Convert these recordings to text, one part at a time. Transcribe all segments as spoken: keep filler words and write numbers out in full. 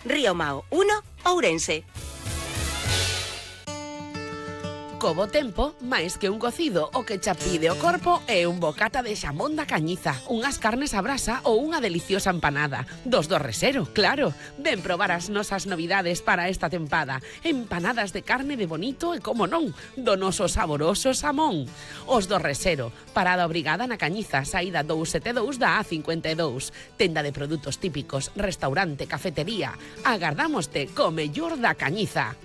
Río Mao uno, Ourense. Co bo tempo, máis que un cocido, o que cha pide o corpo é un bocata de xamón da Cañiza, unhas carnes a brasa ou unha deliciosa empanada. Dos do Resero, claro. Ven probar as nosas novidades para esta tempada. Empanadas de carne de bonito e, como non, do noso saboroso xamón. Os do Resero, parada obrigada na Cañiza, saída doscientos setenta e dous da A cincuenta e dous. Tenda de produtos típicos, restaurante, cafetería. Agardámoste co mellor da Cañiza.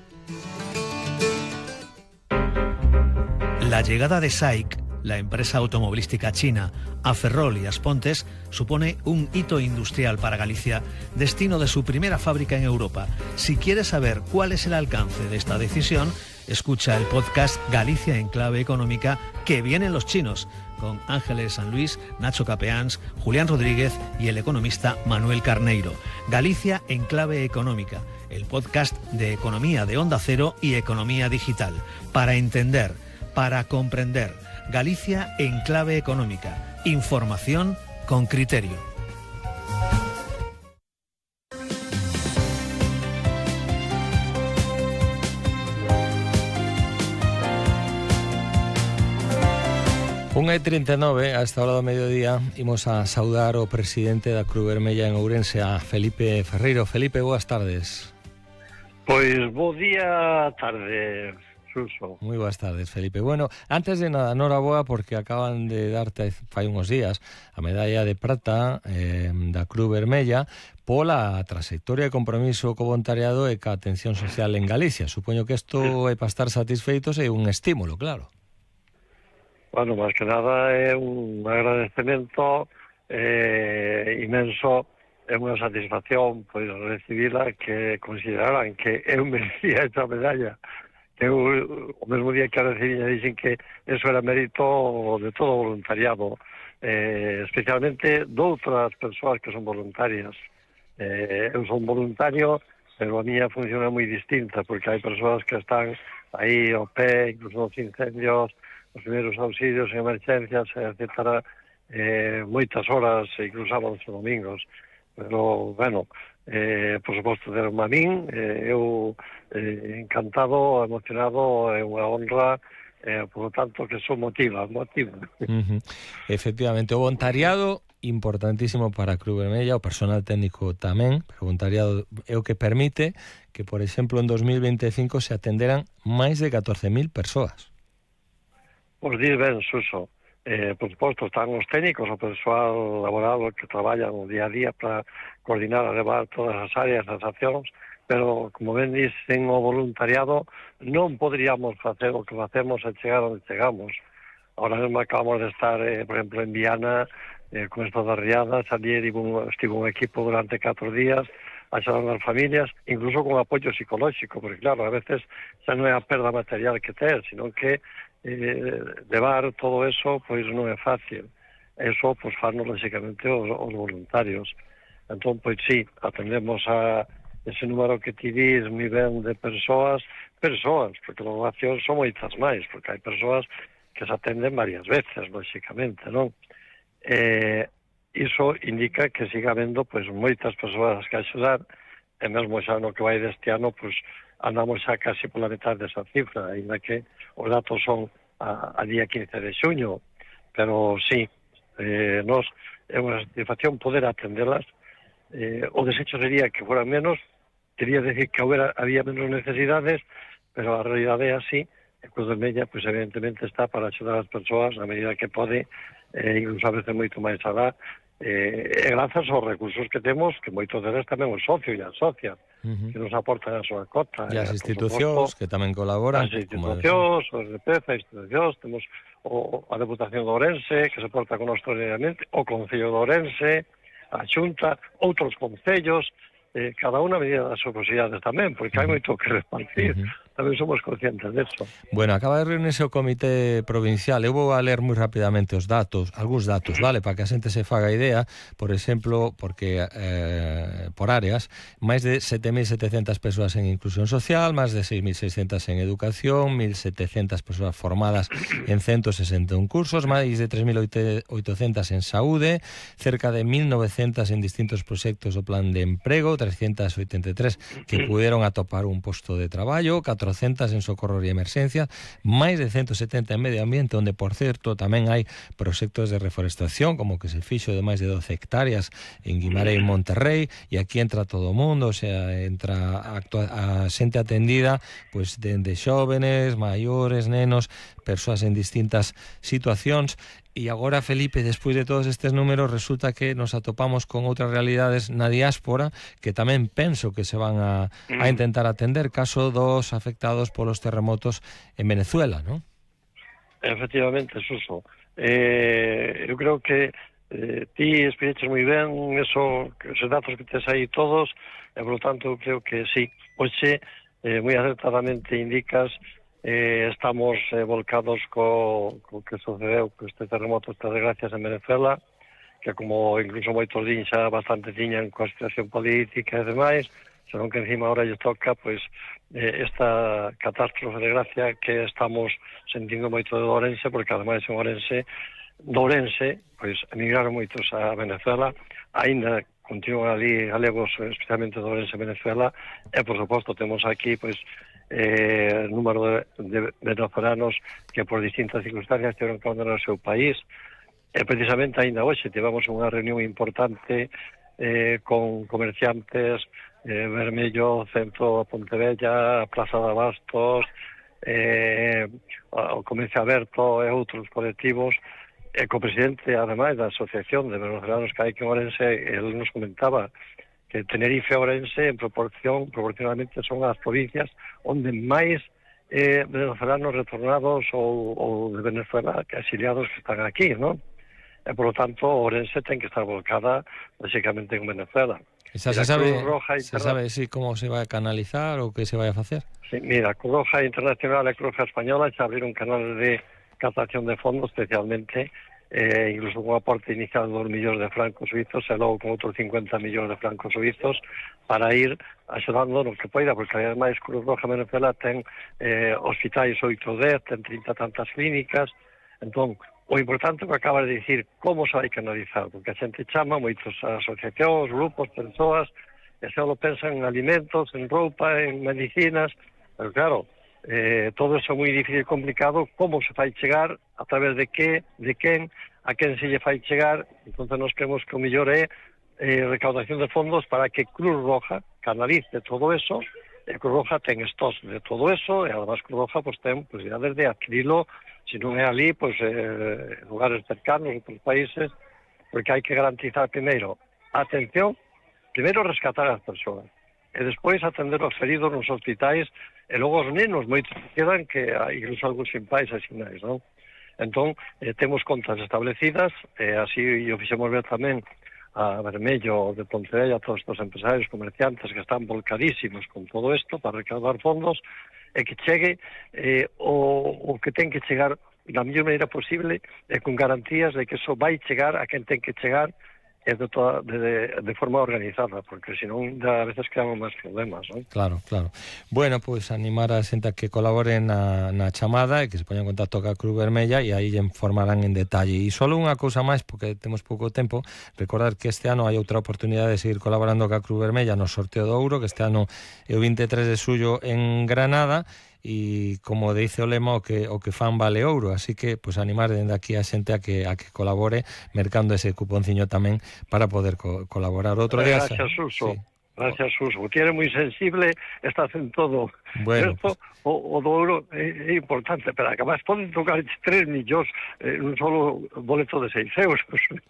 La llegada de S A I C, la empresa automovilística china, a Ferrol y Aspontes, supone un hito industrial para Galicia, destino de su primera fábrica en Europa. Si quieres saber cuál es el alcance de esta decisión, escucha el podcast Galicia en Clave Económica, que vienen los chinos, con Ángeles San Luis, Nacho Capeáns, Julián Rodríguez y el economista Manuel Carneiro. Galicia en Clave Económica, el podcast de economía de Onda Cero y economía digital, para entender, para comprender. Galicia en Clave Económica. Información con criterio. unha e trinta e nove, a esta hora do mediodía, imos a saudar o presidente da Cruz Vermella en Ourense, a Felipe Ferreiro. Felipe, boas tardes. Pois bo día, tarde, Suso. Moi boas tardes, Felipe. Bueno, antes de nada, noraboa, porque acaban de darte fai uns días a medalla de prata eh, da Cruz Vermella pola trayectoria e compromiso co voluntariado e ca atención social en Galicia. Supoño que isto é para estar satisfeitos e un estímulo, claro. Bueno, máis que nada é un agradecemento eh, inmenso, é unha satisfacción pois recibila, que consideraran que eu merecía esta medalla. Eu, o mesmo día que a recibí, dixen que eso era mérito de todo o voluntariado, eh, especialmente de outras persoas que son voluntarias. Eh, eu son voluntario, pero a miña función é moi distinta, porque hai persoas que están aí ao pé, incluso nos incendios, os primeiros auxilios en emergencias, etcétera, eh, moitas horas, incluso sábados e domingos. Pero, bueno, eh, por suposto, deron a min, eh, eu eh, encantado, emocionado, é unha honra, eh, por lo tanto, que son motiva, motiva. Uh-huh. Efectivamente, o voluntariado importantísimo para a Cruz Vermella, o personal técnico tamén, pero o voluntariado é o que permite que, por exemplo, en dos mil vinte e cinco se atenderan máis de catorce mil persoas. Pois dir ben, Suso, eh, por suposto, están os técnicos, o persoal laboral que traballan o día a día para coordinar e levar todas as áreas, as accións, pero, como ben dicen, o voluntariado non poderíamos facer o que facemos e chegar onde chegamos. Ahora mesmo acabamos de estar, eh, por exemplo, en Viana, eh, con estas riadas, ali estivo un equipo durante catro días, axudando as familias, incluso con apoio psicolóxico, porque claro, a veces xa non é a perda material que ter, sino que eh, levar todo eso pois non é fácil. Eso pois farnos lógicamente os, os voluntarios. Entón, pois sí, atendemos a ese número que ti dis moi ben de persoas, persoas, porque as ovacións son moitas máis, porque hai persoas que se atenden varias veces, lógicamente, non? Eh, iso indica que siga habendo pois moitas persoas que axudar, e mesmo xa no que vai deste ano, pois andamos xa casi pola metade desa cifra, ainda que os datos son a, a día quince de xuño, pero sí, eh, nos é unha satisfacción poder atendelas. Eh, o desecho sería que fueran menos, quería decir que hubiera, había menos necesidades, pero a realidade é así. A Cruz Vermella, pois evidentemente está para axudar as persoas na medida que pode, eh, incluso a veces moito máis alá, eh, e grazas aos recursos que temos, que moitos deles tamén os socios e as socias, uh-huh, que nos aportan a súa cota. E as institucións que tamén colaboran. As institucións, os de P E Z, as institucións, temos o, a Deputación de Ourense, que se porta con nos extraordinariamente, o Concello de Ourense, a Xunta, outros concellos, eh, cada unha a medida das súas posibilidades tamén, porque hai moito que repartir. Uh-huh. tamén somos conscientes disso. Bueno, acaba de reunirse o Comité Provincial. Eu vou a ler moi rapidamente os datos, algúns datos, vale, para que a xente se faga idea. Por exemplo, porque eh, por áreas, máis de sete mil setecentas persoas en inclusión social, máis de seis mil seiscentas en educación, mil setecentas persoas formadas en ciento sesenta e un cursos, máis de tres mil oitocentas en saúde, cerca de mil novecentas en distintos proxectos do plan de emprego, trescientas oitenta e tres que puderon atopar un posto de traballo, catrocentas en socorro e emerxencia, máis de ciento setenta en medio ambiente, onde, por certo, tamén hai proxectos de reforestación, como que se fixo de máis de doce hectáreas en Guimarães, Monterrey, e aquí entra todo o mundo, o sea, entra a, a xente atendida, pois dende xóvenes, maiores, nenos, persoas en distintas situacións. E agora, Felipe, despois de todos estes números, resulta que nos atopamos con outras realidades na diáspora que tamén penso que se van a, a intentar atender, caso dos afectados polos terremotos en Venezuela, ¿no? Efectivamente, Suso. Eh, eu creo que eh, ti explicaches moi ben eso, esos datos que tes aí todos, e, por lo tanto, creo que sí. Oxe, eh, moi acertadamente indicas, Eh, estamos eh, volcados co, co que sucedeu con este terremoto, estas desgracias en Venezuela, que como incluso moitos din xa bastante tiñan coa situación política e demais, senón que encima ahora lle toca pois eh, esta catástrofe de desgracia que estamos sentindo moito de Ourense, porque ademais en Ourense, de Ourense, pois emigraron moitos a Venezuela, aínda continúan ali galegos, especialmente de Ourense, Venezuela, e por suposto temos aquí pois eh, número de, de venezolanos que por distintas circunstancias tiveron que abandonar o seu país. E precisamente ainda hoxe tivemos unha reunión importante eh, con comerciantes, eh, Vermello, Centro Pontevella, Plaza de Abastos, eh, o Comercio Aberto e outros colectivos, e co presidente, ademais, da Asociación de Venezolanos que hai que en Ourense, ele nos comentaba que Tenerife e Ourense en proporción, proporcionalmente son as provincias onde máis eh, venezolanos retornados ou, ou de Venezuela que exiliados que están aquí, ¿no? E, por lo tanto, Ourense ten que estar volcada básicamente en Venezuela. Esa, se sabe, se sabe sí, como se vai a canalizar ou que se vai a facer? Sí, mira, Cruz Roja Internacional e Cruz Roja Española xa abriron un canal de captación de fondos, especialmente eh, incluso con un aporte inicial de dos millóns de francos suizos e logo con outros cincuenta millóns de francos suizos para ir axudando no que poida, porque ademais Cruz Roja Venezuela ten eh, hospitais oito dez, ten trinta tantas clínicas. Entón, o importante que acabas de dicir, como se vai canalizar, porque a xente chama moitos asociacións, grupos, persoas, e se lo pensan en alimentos, en roupa, en medicinas, pero claro, Eh, todo eso é moi difícil e complicado. Como se fai chegar, a través de que, de quen, a quen se lle fai chegar. Entón nos creemos que o mellor é eh, recaudación de fondos para que Cruz Roja canalice todo eso, e Cruz Roja ten estos de todo eso, e además Cruz Roja pues, ten posibilidades de adquirilo, se non é ali, pues, eh, lugares cercanos, outros países, porque hai que garantizar primeiro a atención, primeiro rescatar as persoas, e despois atender os feridos nos hospitais, e logo os nenos, moitos quedan que incluso algúns sin pais e sin nais, non? Entón, eh, temos contas establecidas, e así o fixemos ver tamén a Vermello de Pontevella, a todos estes empresarios, comerciantes que están volcadísimos con todo isto para recaudar fondos, e que chegue eh, o, o que ten que chegar da mellor maneira posible e con garantías de que eso vai chegar a quen ten que chegar e de, toda, de, de, de forma organizada, porque senón a veces creamos máis problemas, non? Claro, claro. Bueno, pois pues, animar a xente a que colabore na, na chamada e que se poñan en contacto ca Cruz Vermella e aí informarán en detalle. E só unha cousa máis, porque temos pouco tempo, recordar que este ano hai outra oportunidade de seguir colaborando ca Cruz Vermella no sorteo do ouro, que este ano é o vinte e tres de xullo en Granada, e como dice o lema, o que o que fan vale ouro, así que pues animar dende aquí a xente a que a que colabore mercando ese cuponciño tamén para poder co colaborar. Outro día. Gracias, Suso. Sí. Gracias, Suso. O tiene moi sensible, está en todo. Bueno, pues... o, o do ouro é, é importante, pero además poden tocar tres millóns en eh, un solo boleto de seis euros.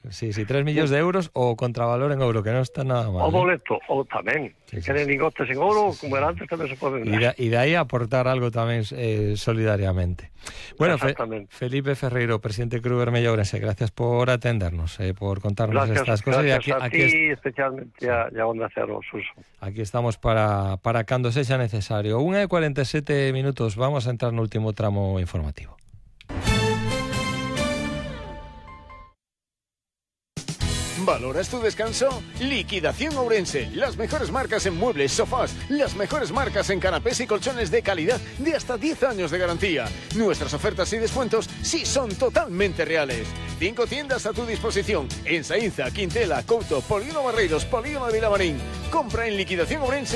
Sí, sí, tres millóns de euros o contravalor en ouro, que non está nada mal. O boleto, ¿eh? O tamén. Sí, sí, queren sí. Lingotes en ouro, como era antes, tamén se poden dar. E de aí aportar algo tamén eh, solidariamente. Bueno, Fe, Felipe Ferreiro, presidente de Cruz Vermella Ourense, gracias por atendernos, eh, por contarnos gracias, estas cosas. Gracias y aquí, a aquí ti, es... especialmente sí. a, a Onda Cero, Suso. Suso. Aquí estamos para, para cando sexa necesario. Unha e cuarenta e sete minutos, vamos a entrar no último tramo informativo. ¿Valoras tu descanso? Liquidación Ourense. Las mejores marcas en muebles, sofás, las mejores marcas en canapés y colchones de calidad de hasta diez años de garantía. Nuestras ofertas y descuentos sí son totalmente reales. Cinco tiendas a tu disposición en Saínza, Quintela, Couto, Polígono Barreiros, Polígono de Vilamarín. Compra en Liquidación Ourense